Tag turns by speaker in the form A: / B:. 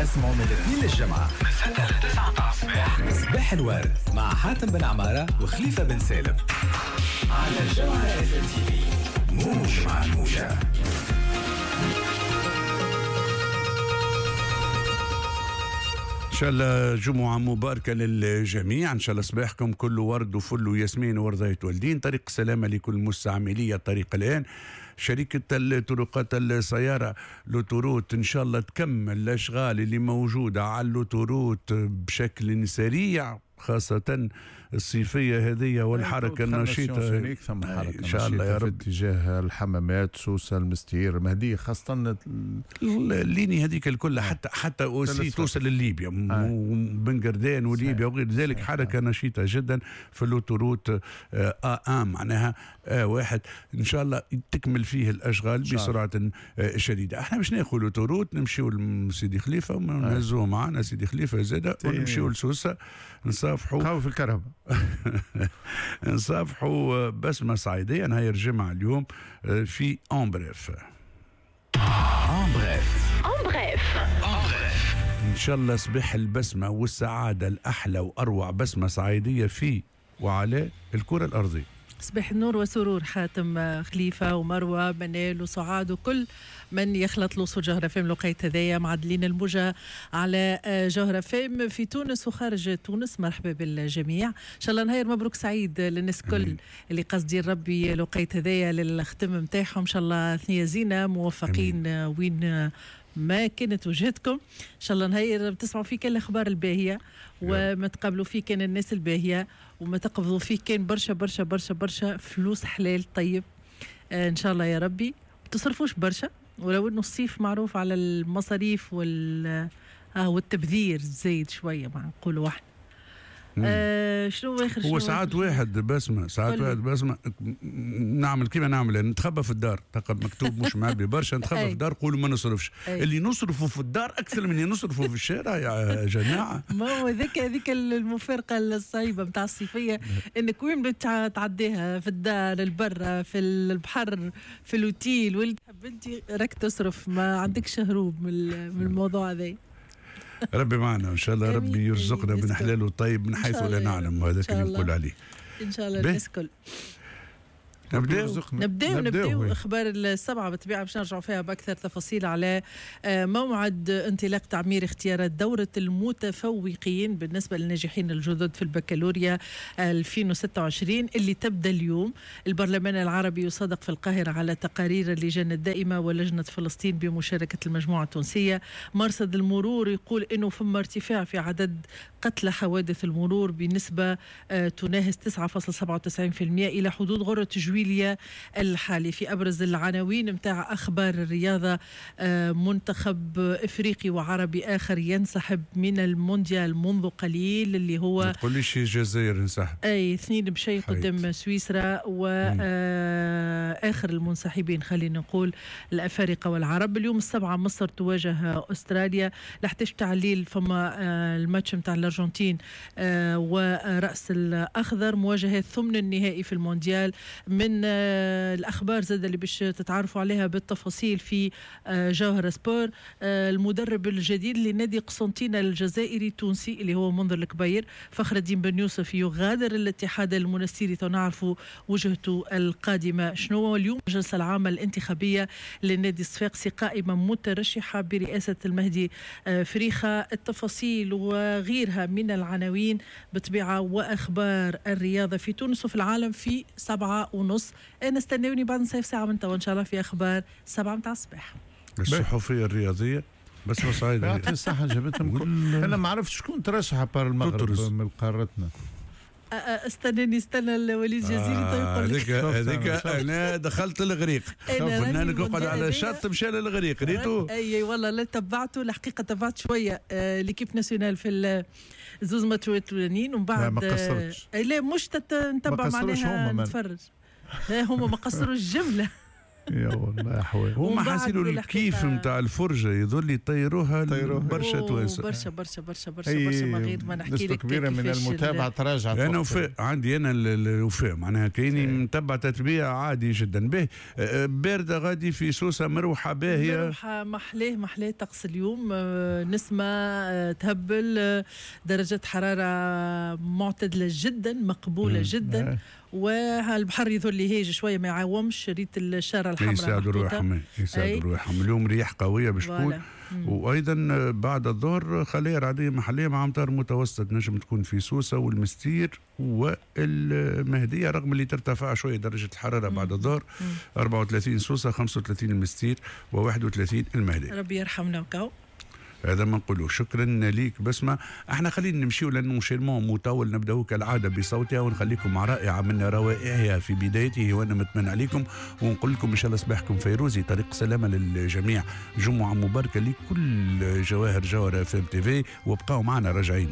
A: تسمعوا من الاثنين للجمعة من 6 ل 9 متاع الصباح، صباح الورد مع حاتم بن عمارة وخليفة بن سالم على جوهرة اف ام تي في، موج مع الموجة.
B: إن شاء الله جمعة مباركة للجميع، إن شاء الله صباحكم كله ورد وفل وياسمين ورضاية والدين. طريق السلامة لكل مستعملية الطريق الآن. شركة الطرقات السيارة l'autoroute إن شاء الله تكمل الأشغال اللي موجودة على l'autoroute بشكل سريع، خاصة الصيفية هذه والحركة النشيطة.
C: ثم حركة
B: إن شاء الله يا رب
C: في اتجاه الحمامات، سوسة، المستير، مهدية، خاصة
B: ال ligne هذيك الكل، حتى aussi توصل لليبيا وبن قردان وليبيا وغير ذلك. حركة نشيطة جدا في l'autoroute A1 معناها واحد، إن شاء الله تكمل فيه الأشغال بسرعة شديدة. احنا باش ناخذ l'autoroute نمشيو لسيدي خليفة ونهزوه معنا سيدي خليفة زادة، ونمشيو لسوسة نصافحوا
C: قهوة في الكهرباء
B: نصافحوا بسمة سعيدية نهار الجمعة اليوم في en bref.
A: en bref
D: en bref
B: إن شاء الله صباح البسمة والسعادة الأحلى وأروع بسمة سعيدية في وعلى الكرة الأرضية.
E: صباح النور وسرور حاتم خليفة ومروة منال وسعاد وكل من يخلط لوصول جوهرة فام لقيت هذايا معدلين الموجة على جوهرة فام في تونس وخارج تونس. مرحبا بالجميع، إن شاء الله نهار مبروك سعيد للناس كل اللي قصدين ربي لقيت هذايا للختم نتاعهم. إن شاء الله ثنية زينة موفقين وين ما كانت وجهتكم. إن شاء الله نهار تسمعوا فيه كان الأخبار الباهية، وما تقابلوا فيه كان الناس الباهية، وما تقبضوا فيه كان برشا برشا برشا برشا فلوس حلال طيب. إن شاء الله يا ربي تصرفوش برشا، ولو إنه الصيف معروف على المصاريف والتبذير زايد شوية مع نقولوا احنا. شنو اخر
B: هو ساعات واحد بسمة، ساعات واحد بسمة نعمل كيما نعمل، نتخبى في الدار، تلقى مكتوب مش معبي برشا، نتخبى في الدار قولوا ما نصرفش. اللي نصرفه في الدار اكثر من اللي نصرفه في الشارع يا جماعة.
E: ما هو هذيك المفارقة الصعيبة نتاع الصيفية، انك وين تعديها في الدار، البرة، في البحر، في الاوتيل، واللي تحب انت راك تصرف، ما عندكش هروب من الموضوع هذا.
B: ربي معنا ان شاء الله، ربي يرزقنا من حلاله الطيب من حيث لا نعلم، وهذا اللي نقول عليه
E: ان شاء الله الناس الكل. نبداو اخبار السبعة بالطبيعة باش نرجعوا فيها باكثر تفاصيل على موعد انطلاق تعمير اختيارات دوره المتفوقين بالنسبة للناجحين الجدد في البكالوريا 2026 اللي تبدا اليوم. البرلمان العربي يصادق في القاهرة على تقارير اللجان الدائمة ولجنه فلسطين بمشاركة المجموعة التونسية. مرصد المرور يقول انه فما ارتفاع في عدد قتلى حوادث المرور بنسبة تناهز 9.97% الى حدود غره جويلية الحالي. في أبرز العناوين متاع أخبار الرياضة، منتخب إفريقي وعربي آخر ينسحب من المونديال منذ قليل، اللي هو
B: ما تقوليش الجزائر انسحب،
E: أي 2-0 قدام سويسرا، وآخر المنسحبين خلينا نقول الأفارقة والعرب. اليوم 7 مصر تواجه أستراليا، ل11 تاع الليل فما الماتش متاع الأرجنتين ورأس الأخضر، مواجهة ثمن النهائي في المونديال. من الأخبار زاد اللي باش تتعرفوا عليها بالتفاصيل في جوهرة سبور، المدرب الجديد لنادي قسنطينة الجزائري التونسي اللي هو منذر الكبير فخر الدين بن يوسف يغادر الاتحاد المنستيري، تنعرفوا وجهته القادمة شنو. اليوم الجلسة العامة الانتخابية للنادي الصفاقسي قائمة مترشحة برئاسة المهدي فريخة. التفاصيل وغيرها من العناوين بطبيعة وأخبار الرياضة في تونس وفي العالم في 7:30. أنا استناوني بعد نصف ساعة من توا إن شاء الله في أخبار 7 متاع الصباح.
B: الصحفية الرياضية بس سعيد
C: يعطي الصحة جابتهم. أنا ما عرفتش شكون ترشح بار المغرب من قارتنا.
E: استناني، استنى الوليد جزيري طيب يقول لك
B: هذيك انا دخلت الغريق، قلنا لك اقعد على الشط مشى للغريق ريتو.
E: اي والله لا تبعته الحقيقة، تبعت شوية l'équipe nationale في الزوز ماتشات الاولانيين، ومن بعد
C: ما قصرتش.
E: لا مش نتبع معناها نتفرج، هما ما قصروش الجملة.
C: يا والله احوال.
B: هما حاسينوا الكيف نتاع الفرجة يظل يطيروها برشا توانسة،
E: برشا برشا برشا برشا برشا، ما غير ما نحكي لك
C: كبيرة من المتابعة تراجعت.
B: انا وفاء عندي انا الوفاء معناها كايني متبع تتبيع عادي جدا. به باردة غادي في سوسة، مروحة باهيه،
E: مروحة محلاه محلاه طقس اليوم، نسمه تهبل، درجه حرارة معتدلة جدا مقبولة جدا، والبحر يظل هاج شوية ما يعاومش. ريت الشارة الحمراء
B: يساعدوا روحهم، يساعدوا روحهم. اليوم رياح قوية باش تكون، وايضا بعد الظهر خلايا رعديه محليه مع امطار متوسطه نجم تكون في سوسة والمستير والمهديه، رغم اللي ترتفع شوية درجه الحرارة بعد الظهر، 34 سوسة، 35 المستير، و31 المهدية.
E: ربي يرحمنا وكاو.
B: هذا ما نقوله. شكرا ليك بسمة. احنا خلينا نمشيو لانه enchaînement مطول، نبداو كالعادة بصوتها ونخليكم مع رائعة من روائعها في بدايته، وانا متمنى عليكم ونقول لكم ان شاء الله صباحكم فيروزي، طريق سلامه للجميع، جمعه مباركة لكل جواهر جوهره اف ام تي في، وابقاو معنا راجعين.